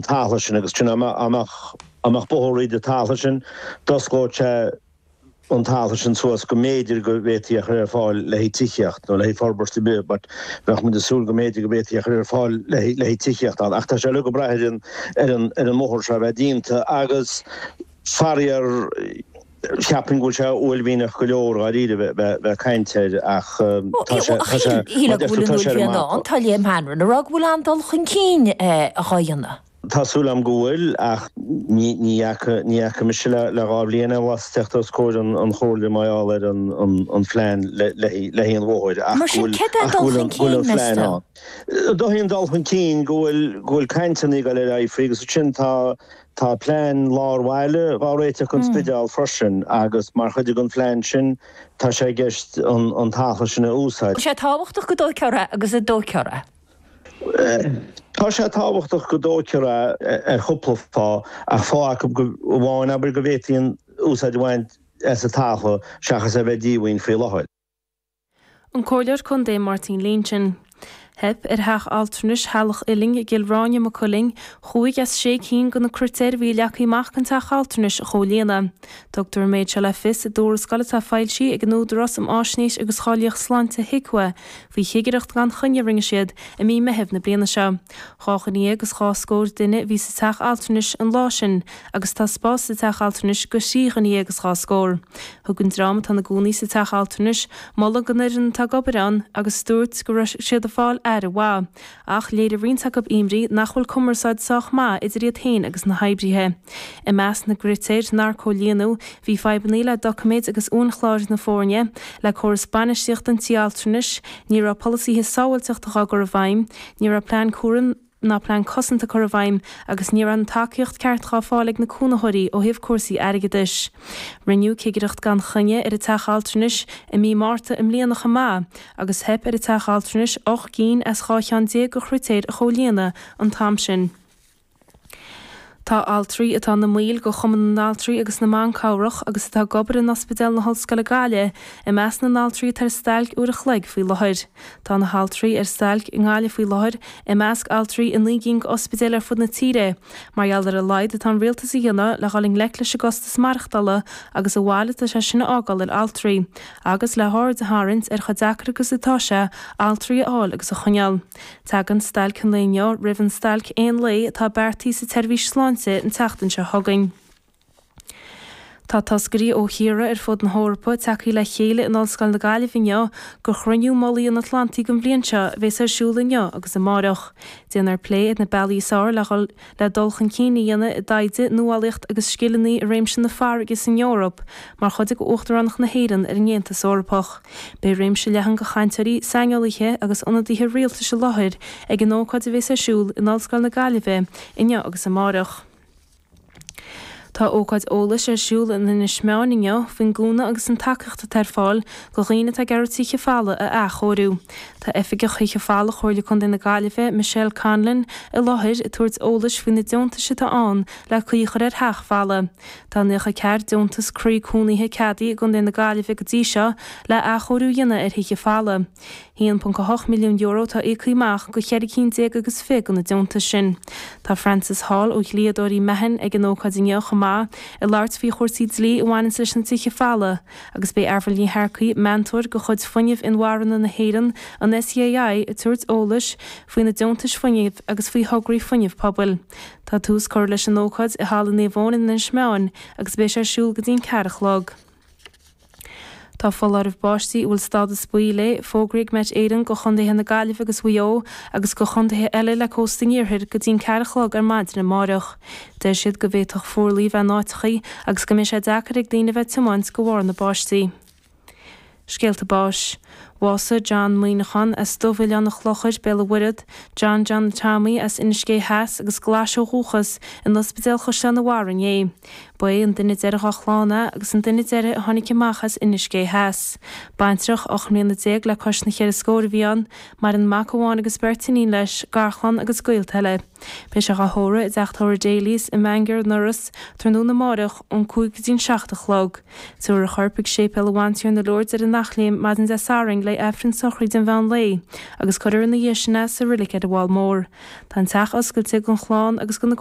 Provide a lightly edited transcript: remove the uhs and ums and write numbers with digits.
talamh sin agus sin dá mbeadh bóthar thríd an talamh sin, d'osclódh sé an talamh sin suas go mb'fhéidir go bhféadfaí é a chur ar fáil le haghaidh tithíocht nó le haghaidh forbairt ar bith but bheadh muid ag súil go mb'fhéidir go bhféadfaí é a chur ar fáil le haghaidh tithíocht ann ach tá sé uilig ag brath ar an ar an ar an mbóthar seo a bheith déanta agus faraor cheapfainn go bhfuil sé uaillmhianach go leor dháiríre bheith bheith ag caint air ach tá sé tá sé Shílfeá go bhfuil an uaillmhian ann, tá Liam Hanrahan ag rá go bhfuil an-dul chun cinn á dhéanamh. Tá súil agam go bhfuil, ach ní fhaca, ní fhaca mise le le 2 bhliain anuas teacht os comhair an chomhairle mar gheall ar an an phlean le le haghaidh an bhóthair ach Mar go sin, bhfuil céard é an ach go dul bhfuil chun an go bhfuil cinn, an meas phlean tú? ann. Dóichí an dul chun cinn go bhfuil go bhfuil cainteanna ag dul ar aghaidh faoi agus ansin tá tá plean lár bhaile dhá réiteach don Spidéal freisin agus mar chuid den phlean sin tá sé i gceist an an talamh sin a úsáid. Tá sé tábhachtach go dtógfar é agus an dtógfar é. Tá sé tábhachtach go dtógfar é ar chúpla fáth, ach fáth acu amháin, abair, go bhféadfaí an úsáid a bhaint as an talamh seachas é a bheith díomhaoin faoi láthair. An Comhairleoir Contae Máirtín Lynch. Theip ar theach altranais Theaghlach Uilinn i gCill Ráine, Maigh Cuilinn, chúig as sé cinn de na critéir a bhí leagtha amach don teach altranais a chomhlíonadh. Tugtar an méid seo le fios i dtuarascáil atá foilsithe ag an Údarás um Fháisnéis agus Cháilíocht Sláinte, HIQA, faoi chigireacht gan choinne a rinne siad i mí Meithimh na bliana seo. 12 dhuine is scór duine a bhí sa teach altranais an lá sin agus tá spás sa teach altranais do thrí dhuine dhéag is dhá scór. Thug an dream atá ina gcónaí sa teach altranais moladh don fhoireann atá ag obair ann agus dúirt go raibh siad ag fáil aire mhaith. Ach léirigh roinnt acu imní nach bhfuil cumarsáid sách maith idir iad féin agus na hoibrithe. I measc na gcritéir nár comhlíonadh bhí fadhbanna le doiciméid agus uainchlár na foirne, le córas bainistíochta an tí altranais, ní raibh polasaithe sábháilteachta á gcur i bhfeidhm, ní raibh plean cúraim ná plean cosanta curtha i bhfeidhm agus ní raibh an tacaíocht ceart dhá fáil ag na cónaitheoirí ó thaobh cúrsaí airgeadais. Rinneadh cigireacht gan choinne ar an teach altranais i mí Márta i mbliana chomh maith agus theip ar an teach altranais 8 gcinn as 12 cheann de chritéir a chomhlíonadh an t-am sin. Tá altraí atá ina mbaill de Chumann na nAltraí agus na mBan Cabhrach agus atá ag obair in Ospidéal na hOllscoile Gaillimh i measc na n-altraí atá ar stailc uair a chloig faoi láthair. Tá na haltraí ar stailc i nGaillimh faoi láthair i measc altraí i 9 gcinn d'ospidéil ar fud na tíre mar gheall ar a laghad atá an rialtas a dhéanamh le dhul i ngleic leis an gcostas maireachtála agus an bhail atá sé sin a fhágáil ar altraí agus le haird a tharraingt ar chomh deacair agus atá sé altraí a fháil agus a choinneáil. Tagann stailc an lae inniu roimh an stailc aon lae atá beartaithe sa tseirbhís sláinte an tseachtain seo chugainn. Tá toscairí ó thíortha ar fud na hEorpa tagtha le chéile in Ollscoil na Gaillimhe inniu do Chruinniú Mullaigh an Atlantaigh don bhliain seo a bhéas ar siúl inniu agus amáireach. Déanfar plé ar na bealaí is fearr le dhul le dul chun cinn a dhéanamh i dtaighde, nuálaíocht agus scileanna i réimse na farraige san Eoraip mar chuid de Uachtaránacht na hÉireann ar an Aontas Eorpach. Beidh réimse leathan de chainteoirí, saineolaithe agus ionadaithe rialtais i láthair ag an ócáid a bhéas ar siúl in Ollscoil na Gaillimhe inniu agus amáireach. Tá ócáid eolais ar siúl in Inis Meáin inniu faoin gcúnamh agus an tacaíocht atá ar fáil do dhaoine atá ag iarraidh tithe folamh a athchóiriú. Tá Oifigeach Thithe Folamh Chomhairle Contae na Gaillimhe, Michelle Conlon, i láthair ag tabhairt eolais faoi na deontais atá ann le caoi a chur ar theach folamh. Tá 94 deontas croí cónaithe ceadaithe i gContae na Gaillimhe go dtí seo le athchóiriú a dhéanamh ar thithe folamh. €1.8 milliún atá íoctha amach do cheithre cinn déag agus fiche de na deontais sin. Tá Francis Hall ó dhlíodóirí Mahon ag an ócáid inniu chomh maith, ag labhairt faoi chúrsaí dlí a bhaineanns leis na tithe folamh, agus beidh Avril Ní Shearcaigh, meantóir de chuid Fuinneamh Inmharthana na hÉireann, an SEAI, ag tabhairt eolais faoi na deontais fuinnimh agus faoi thograí fuinnimh pobail. Tá tús curtha leis an ócáid i Halla Naomh Eoin in Inis Meáin agus beidh sé ar siúl go dtí an ceathair a chlog. Tá foláireamh báistí a bhfuil stádas buí léi fógraithe ag Met Éireann do chontaetha na Gaillimhe agus Mhaigh Eo agus do chontaetha eile le cósta an iarthair go dtí an ceathair a chlog ar maidin amáireach. Deir siad go bhféadfadh fuarlaigh bheith in áiteachaí agus go mbeidh sé deacair ag daoine bheith ag tiomáint de bharr na báistí. Scéalta báis. Bhásaigh John Muineachán as Dubh-Oileán an Chlochair, Béal an Mhuirthead, John John Tommy as Inis Gé Theas agus Glais ó dhúchas, in Ospidéal Chaisleán an Bharraigh inné. Ba é an duine deiridh dá chlann é agus an duine deiridh a tháinig amach as Inis Gé Theas. Baintreach 18 mbliana le cois na cheithre scór a bhí ann, maireann mac amháin agus beirt iníon leis, garchlann agus gaolta eile. Beidh sé dhá thórramh i dteach tórraimh Daly's i Maingear an Iorrais tráthnóna amáireach ón 5 go dtí'n 7 a chlog. Tabharfar a chorp ag Séipéal an Bhantiarna Lourdes ar an Eachléim maidin Dé Sathairn. le Aifreann sochraide an mheán lae agus cuirfear ina dhiaidh sin é sa reilig ar an bhFál Mór. Tá an teach oscailte don chlann agus do na.